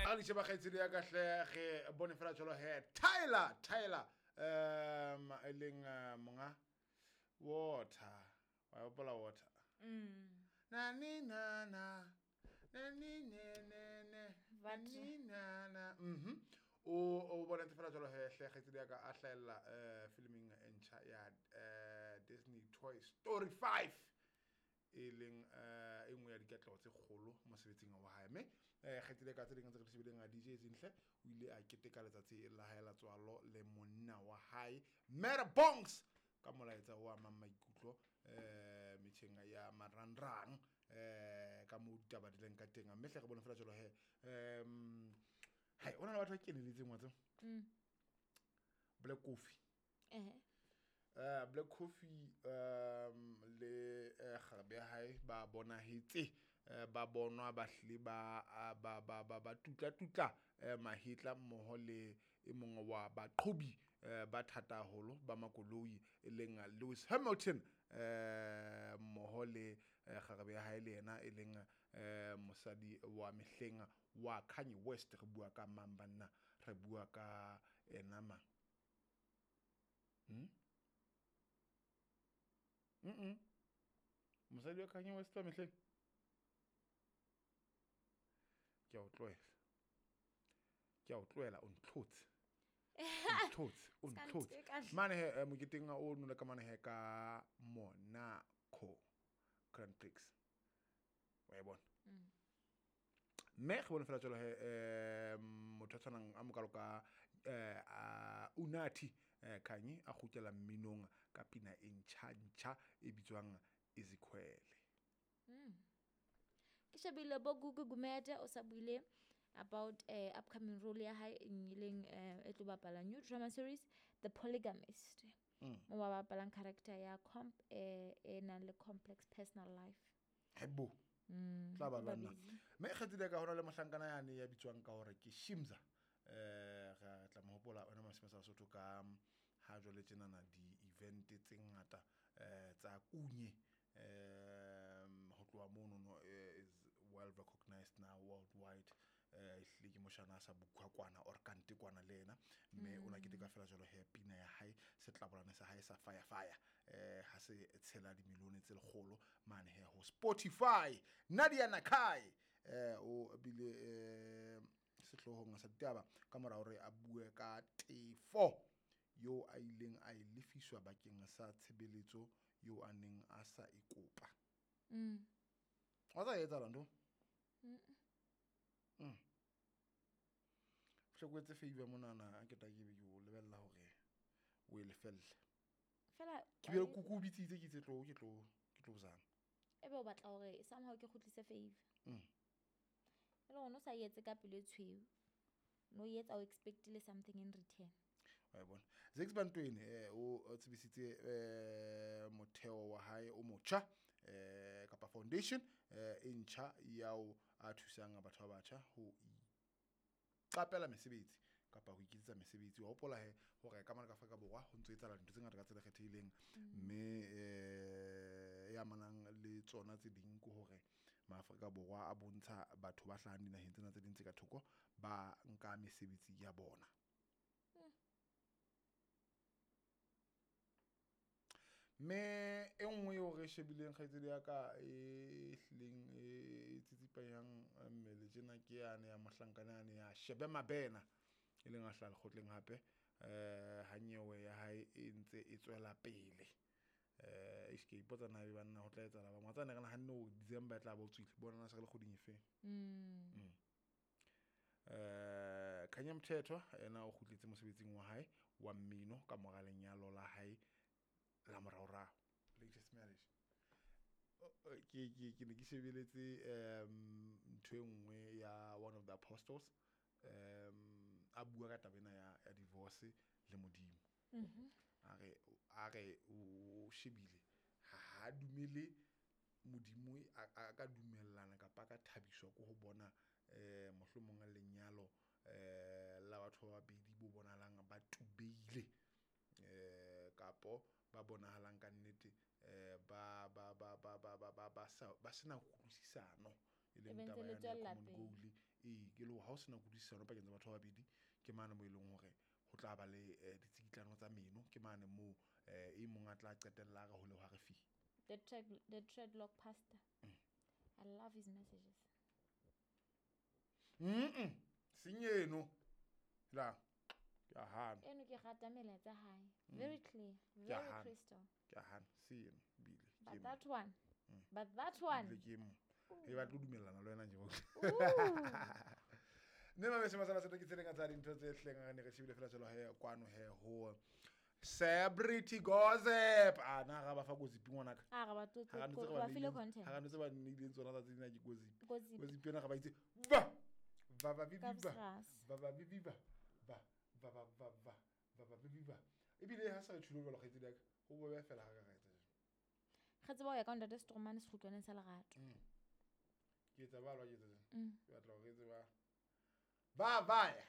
A le sheba kgaitsedi ya ka hle, re bone fela jalo he Tyler e leng monga Water, wa hopola Water? Na ni na na na ni ne ne ne na ni na na. O bonetse fela jalo he hle kgaitsedi ya ka a hlahella filming e ntjha ya Disney Toy Story 5, e leng e nngwe ya dikatleho tse kgolo mosebetsing wa hae. Mme kgaitsedi ya ka, tse ding tse re di shebileng a DJ Zinhle o ile a keteka letsatsi la hae la tswalo le monna wa hae Mara Bongs ka molaetsa o amang maikutlo metjheng ya marangrang ka moo ditaba di leng ka teng. Mme hle re bone fela jalo he hai, o na le batho ba keneletseng wa tseba. Black Coffee. Black Coffee le kgarebe ya hae ba bonahetse ba bonwa ba hlile ba tutla tutla mahetla mmoho le e mongwe wa baqhobi ba thata haholo ba makoloi e leng Lewis Hamilton mmoho le kgarebe ya hae le yena e leng mosadi wa mehleng wa Kanye West. Re bua ka mang banna? Re bua ka ena mang? Mosadi wa Kanye West wa mehleng? Ke a o tlohela. Ke a o tlohela, o ntlhotse. O ntlhotse. Mane he moketeng o nole ka mane he ka Monaco Grand Prix. Wa e bona? Mme re bone fela jalo he motho a tshwanang a mokalo ka Unathi Khanyi a kgutlela mminong ka pina e ntjha ntjha e bitswang Izikhwele. Ke shebile bo Gugu Gumede o sa buile about upcoming role ya hae e leng e tlo bapala new drama series The Polygamist. Mo ba bapalang character ya comp e nang le complex personal life. Hebo. Tla ba lwana. Mme kgetsile ka hona le mohlankana yane ya bitswang ka hore ke Shimza. Re tla mo hopola ona masimo sa Sotho ka ha jwale tjenana di event tse ngata tsa kunye ho tloha mono no is well recognized now worldwide. Ehlile ke moshana a sa bukwa kwana or kante kwana le yena, mme o na keteka fela jwalo he pina ya hae setlabolane sa hae sa fire fire ha se tshela dimilione tse lekgolo mane he ho Spotify. Nadia Nakai o bile sehlohong sa ditaba ka mora hore a bue ka tefo yo a ileng a e lefiswa bakeng sa tshebeletso yo a neng a sa e kopa. Wa tsa etsahala ntho? Hloko etse favor monana a ke tla ke be ke o lebella hore o e lefelle. Fela ke be kuku o bitsitse ke itse tlo ke tlo zama. Ebe o batla hore somehow ke kgutlise favor. E le hore o sa etse ka pelo e tshweu. No etsa o expectile something in return. Wa bona. Zakes Bantwini o tsebisitse motheo wa hae o motjha kapa foundation e ntjha yao a thusang batho ba batjha ho iqapela mesebetsi kapa ho iketsetsa mesebetsi. Wa hopola he hore ka mona ka Afrika Borwa ho ntso etsahala dintho tse ngata ka tsela e kgethehileng, mme e amanang le tsona tse ding ke hore maAfrika Borwa a bontsha batho ba hlahang dinaheng tsena tse ding tse ka thoko ba nka mesebetsi ya bona. Mme e nngwe eo re shebileng kgaitsedi ya ka e hlileng e tsitsipanyang mmele tjena ke yane ya mohlankana yane ya Shebe Mabena e leng a hlaha lekgotleng hape ha nyewe ya hae e ntse e tswela pele. Ke ipotsa na ebe banna ho tla etsahala ba ngwatsane re nahanne hore December e tla ba o tswile, bona na se re le kgweding e feng. Khanya Mthethwa ena o kgutletse mosebetsing wa hae wa mmino ka mora lenyalo la hae la moraorao, latest marriage. Ke ne ke shebeletse ntho e nngwe ya one of the apostles a bua ka taba ena ya divorce le Modimo. A re o shebile ha dumele Modimo a ka dumellana kapa ka thabiswa ke ho bona mohlomong lenyalo la batho ba babedi bo bonahalang ba tubeile kapo ba bonahalang ka nnete ba ba ba ba ba ba ba sa ba sena kutlwisisano e leng taba ya common goal e Ee, ke le hore ha o sena kutlwisisano pakeng tsa batho ba babedi, ke mane mo e leng hore ho tla ba le ditsikitlano tsa meno, ke mane moo e mong a tla qetella a re hole hwa re fi. The dreadlock pastor. I love his messages. Seng eno la ke a hana. Eno ke rata melaetsa hae. Very clear, Ke a very hana. crystal. Ke a hana se eno ebile ke But emo. that one. But that one. Ebile ke emo. E batla ho dumellana le wena nje bo. Mme mabese masala setho ke tse ding tsa dintho tse hleng re ne re shebile fela jalo he kwano he ho Celebrity Gossip. A na ga ba fa gossip ngwanaka. A re ba tlotse Ha re ntse re ba ba file neileng- content. ha re ntse ba neileng tsona tsatsi lena ke gossip. Gossip. Gossip ena ga ba itse va va va vi Ka vi va bosras. va va vi vi va va va va va va va va vi vi va. Ebile ha sa re tjhulo jwalo kgaitsedi ya ka, ho bobe fela ha ka ra etsa jwalo. Re tseba ho ya ka ntate Stromane sekgutlwaneng sa lerato. Ke etsa ba lwa ke etsa jwang? Ke batla hore re tseba ba ba ya.